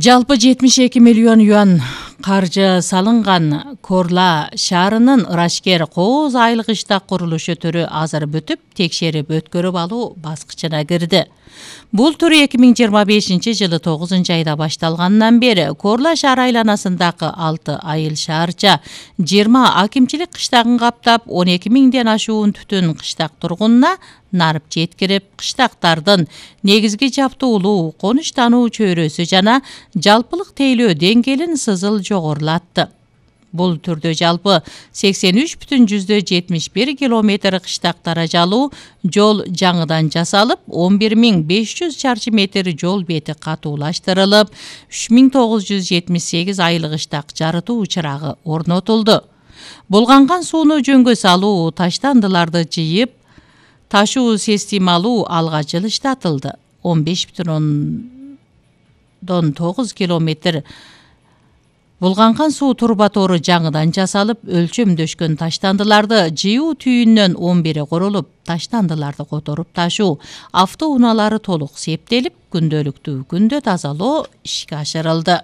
Жалпы 72 миллион юан каржы салынган Корла шаарынын Ырашкер Кооз айлык иштак курулушу түрү азыр бүтүп, текшерип өткөрүп алуу баскычына кирди. Бул түр 2025-жылы 9-айда башталгандан бери Корла шаар айланасындагы 6 айыл шаарча 20 акимчилик кыштагын каптап, 12 миңден ашуун түтүн кыштак тургунуна нарып жеткирип, кыштактардын негизги жаптуулуу, конуштануу чөйрөсү жана жалпылык тейлөө деңгээлин сызыл жогорулатты. Бул түрдө жалпы 83,71 километр кыштак даражалуу жол жаңыдан жасалып, 11.500 чарчы метр жол бети катуулаштырылып, 3.978 айлык иштак жарытуу чырагы орнотулду. Булганган сууну жөнгө салуу, таштандыларды жыйып ташуу системалуу алга жылыштатылды. 15,9 километр булганган суу турбатору жаңыдан жасалып, өлчөмдөшкөн таштандыларды жыйуу түйүннөн 11 курулуп, таштандыларды которуп ташуу автоунаалары толук септелип, күндөлүктүү күндө тазалоо ишке ашырылды.